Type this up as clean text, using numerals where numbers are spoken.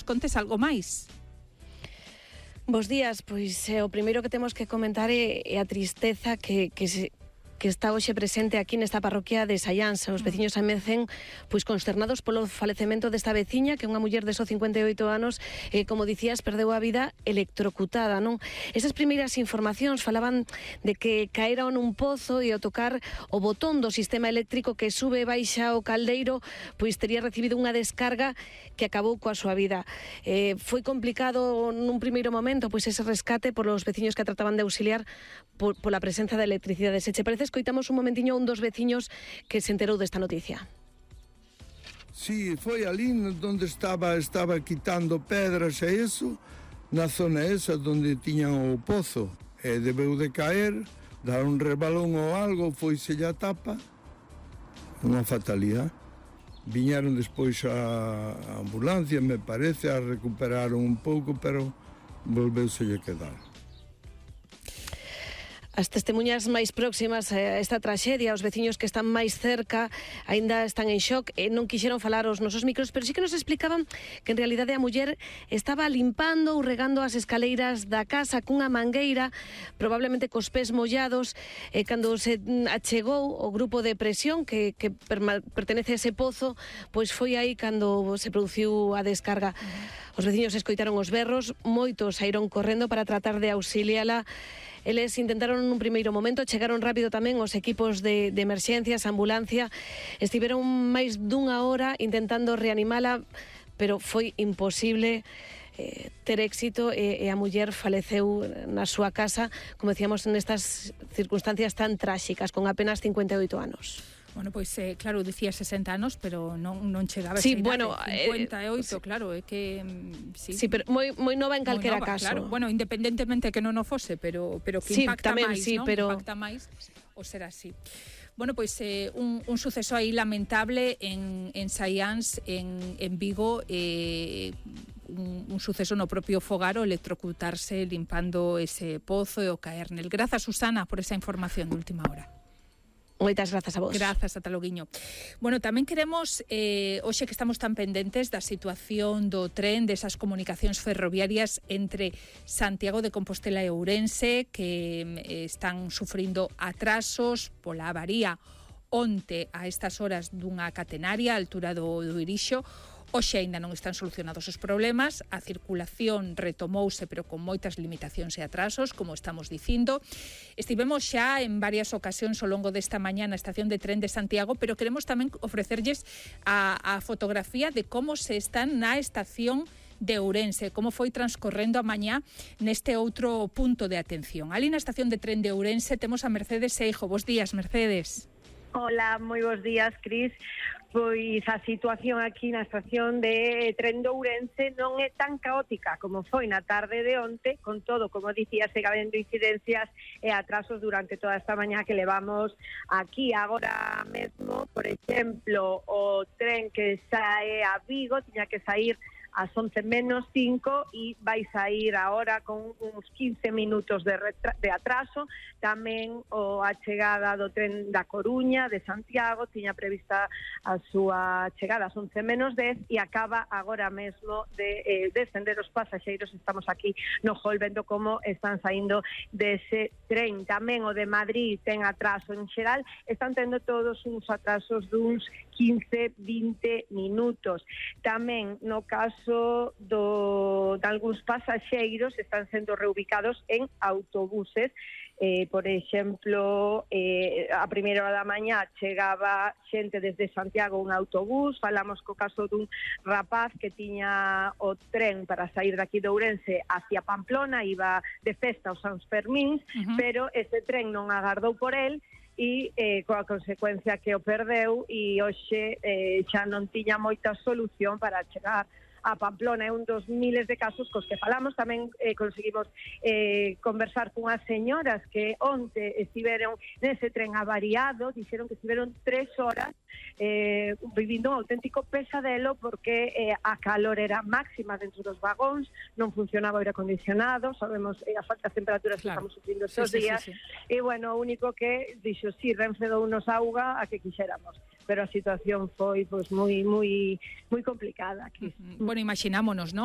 nos contes algo máis. Bos días, pois o primeiro que temos que comentar é a tristeza que está hoxe presente aquí nesta parroquia de Saiáns. Os veciños amecen pois consternados polo falecemento desta veciña, que é unha muller de só 58 anos, como dicías, perdeu a vida electrocutada, non? Esas primeiras informacións falaban de que caera nun pozo e ao tocar o botón do sistema eléctrico que sube e baixa o caldeiro, pois tería recibido unha descarga que acabou coa súa vida. Foi complicado nun primeiro momento pois ese rescate polos veciños que a trataban de auxiliar pola presenza da electricidade. Se che parece, escoitamos un momentiño a un dos veciños que se enterou desta noticia. Sí, foi ali onde estaba quitando pedras e eso, na zona esa onde tiñan o pozo, e debeu de caer, dar un rebalón ou algo, foise a tapa, unha fatalidade. Viñeron despois a ambulancia, me parece, a recuperaron un pouco, pero volveuse a quedar. As testemunhas máis próximas a esta traxedia, os veciños que están máis cerca, aínda están en shock e non quixeron falar aos nosos micros, pero sí que nos explicaban que en realidade a muller estaba limpando ou regando as escaleiras da casa cunha mangueira, probablemente cos pés mollados, e cando se achegou o grupo de presión que pertenece a ese pozo, pois foi aí cando se produciu a descarga. Os veciños escoitaron os berros, moitos saíron correndo para tratar de auxiliala. Eles intentaron nun primeiro momento, chegaron rápido tamén os equipos de emerxencias, ambulancia, estiveron máis dunha hora intentando reanimala, pero foi imposible ter éxito e a muller faleceu na súa casa, como decíamos, nestas circunstancias tan tráxicas, con apenas 58 anos. Bueno, pois, claro, dicía 60 anos, pero non chegaba a sí, esa bueno, 58, claro, é que... Sí, pero moi nova en calquera caso. Claro, bueno, independentemente que non o fose, pero que sí, impacta tamén, máis, sí, non? Pero... Impacta máis o ser así. Bueno, pois un suceso aí lamentable en Saiáns, en Vigo, un suceso no propio fogar, o electrocutarse limpando ese pozo e o caer nel. Grazas, Susana, por esa información de última hora. Moitas grazas a vos. Grazas, ata loguiño. Bueno, tamén queremos, hoxe que estamos tan pendentes da situación do tren, desas comunicacións ferroviarias entre Santiago de Compostela e Ourense, que están sufrindo atrasos pola avaría onte a estas horas dunha catenaria a altura do Irixo. Hoxe aínda non están solucionados os problemas, a circulación retomouse pero con moitas limitacións e atrasos, como estamos dicindo. Estivemos xa en varias ocasións ao longo desta mañá na estación de tren de Santiago, pero queremos tamén ofrecerlles a fotografía de como se están na estación de Ourense, como foi transcorrendo a mañá neste outro punto de atención. Ali na estación de tren de Ourense temos a Mercedes Seijo. Bos días, Mercedes. Hola, moi bons días, Cris. Pois a situación aquí na estación de tren de Ourense non é tan caótica como foi na tarde de onte, con todo, como dicía, segue habendo incidencias e atrasos durante toda esta mañá que levamos aquí. Agora mesmo, por exemplo, o tren que sae a Vigo tiña que sair ás 11:05 e vai sair agora con uns 15 minutos de atraso. Tamén a chegada do tren da Coruña, de Santiago, tiña prevista a súa chegada ás 11:10 e acaba agora mesmo de descender os pasaxeiros. Estamos aquí no hall vendo como están saindo dese tren. Tamén o de Madrid ten atraso en xeral, están tendo todos uns atrasos duns 15-20 minutos. Tamén no caso de algúns pasaxeiros están sendo reubicados en autobuses. Por exemplo, a primeira hora da mañá chegaba xente desde Santiago un autobús. Falamos co caso dun rapaz que tiña o tren para sair daqui de Ourense hacia Pamplona, iba de festa aos Sans Fermíns, pero ese tren non agardou por el e coa consecuencia que o perdeu, e hoxe xa non tiña moita solución para chegar a Pamplona. É un dos miles de casos cos que falamos. Tamén conseguimos conversar cunhas señoras que onte estiveron nese tren avariado, dixeron que estiveron 3 horas vivindo un auténtico pesadelo porque a calor era máxima dentro dos vagóns, non funcionaba o aire acondicionado, sabemos as altas temperaturas que estamos sufrindo estes días. E bueno, o único que dixo, si, Renfe dounos auga a que quixéramos, pero a situación foi pois moi complicada aquí. Bueno, imaxinámonos, non?